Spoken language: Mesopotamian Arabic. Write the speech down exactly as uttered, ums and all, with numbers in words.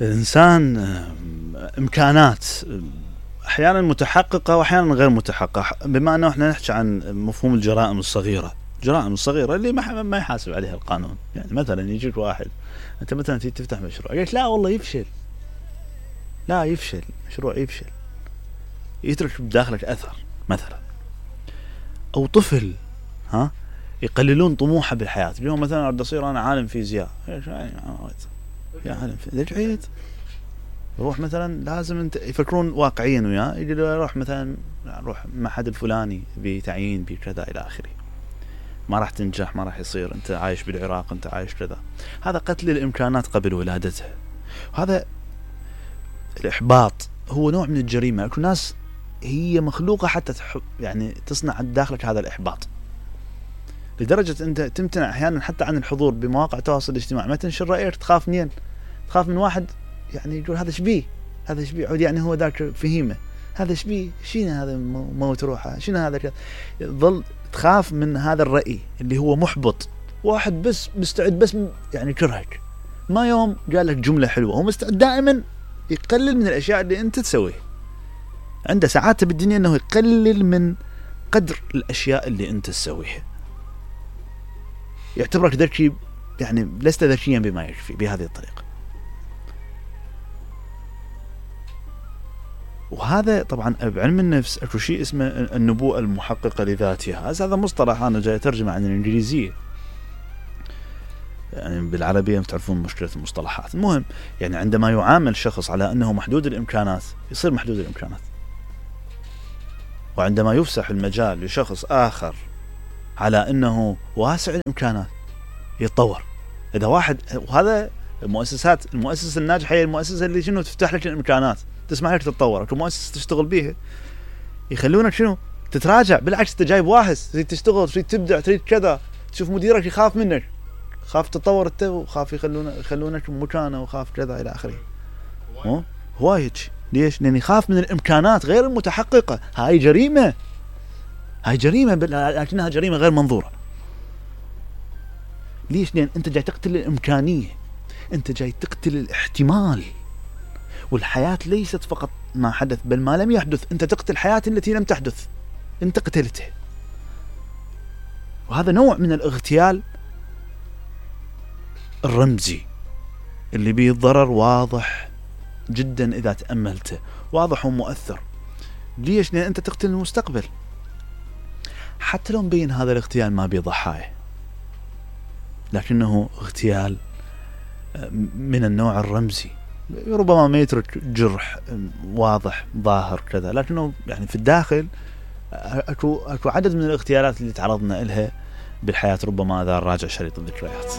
الإنسان إمكانات أحيانا متحققة وأحيانا غير متحققة. بما أنه إحنا نحكي عن مفهوم الجرائم الصغيرة، الجرائم الصغيرة اللي ما ما يحاسب عليها القانون. يعني مثلا يجيك واحد أنت مثلا تيجي تفتح مشروع، قلت لا والله يفشل، لا يفشل مشروع يفشل، يترك بداخلك أثر مثلا. أو طفل ها يقللون طموحه بالحياة، اليوم مثلا أريد أصير أنا عالم فيزياء، إيش يعني يا عالم ليش عيد؟ روح مثلا لازم انت يفكرون واقعيا وياه، يجي يروح مثلا روح معهد الفلاني بتعيين بكذا الى اخره. ما راح تنجح، ما راح يصير، انت عايش بالعراق، انت عايش كذا. هذا قتل الامكانات قبل ولادتها. وهذا الاحباط هو نوع من الجريمه. اكو ناس هي مخلوقه حتى تحب يعني تصنع داخلك هذا الاحباط، لدرجه انت تمتنع احيانا حتى عن الحضور بمواقع التواصل الاجتماعي. ما تنشر رايك، تخاف منين؟ تخاف من واحد يعني يقول هذا شبيه، هذا شبيه عود، يعني هو ذاك فهيمه، هذا شبيه، شنو هذا موت روحه، شنو هذا كذا. ظل تخاف من هذا الرأي اللي هو محبط. واحد بس مستعد بس يعني كرهك، ما يوم قال لك جملة حلوة، هو مستعد دائما يقلل من الأشياء اللي أنت تسويها. عنده سعادة بالدنيا أنه يقلل من قدر الأشياء اللي أنت تسويها، يعتبرك ذكي، يعني لست ذكيا بما يكفي بهذه الطريقة. وهذا طبعا بعلم النفس اكو شيء اسمه النبوءة المحققة لذاتها. هذا مصطلح انا جاي ترجمه عن الانجليزية، يعني بالعربية تعرفون مشكلة المصطلحات. المهم يعني عندما يعامل شخص على انه محدود الامكانات يصير محدود الامكانات، وعندما يفسح المجال لشخص اخر على انه واسع الامكانات يتطور. اذا واحد، وهذا المؤسسات، المؤسسة الناجحة هي المؤسسة اللي شنو تفتح لك الامكانات، تسمح لك تتطور. اكو مؤسسة تشتغل بيها يخلونك شنو تتراجع، بالعكس انت جايب واحد تريد تشتغل، تريد تبدع، تريد كذا، تشوف مديرك يخاف منك، خاف تتطور انت، وخاف يخلونك يخلونك مكانه، وخاف كذا الى اخره. مو هوايج ليش؟ لان يخاف من الامكانات غير المتحققة. هاي جريمة، هاي جريمة لكنها جريمة غير منظورة. ليش؟ لان انت جاي تقتل الامكانية، انت جاي تقتل الاحتمال. والحياة ليست فقط ما حدث بل ما لم يحدث، انت تقتل الحياة التي لم تحدث، انت قتلته. وهذا نوع من الاغتيال الرمزي اللي بيه الضرر واضح جدا اذا تأملته، واضح ومؤثر. ليش؟ لان انت تقتل المستقبل. حتى لو مبين هذا الاغتيال ما بيه ضحايا، لكنه اغتيال من النوع الرمزي، ربما ما يترك جرح واضح ظاهر كذا، لكنه يعني في الداخل اكو اكو عدد من الاغتيالات اللي تعرضنا لها بالحياة. ربما اذا راجع شريط الذكريات.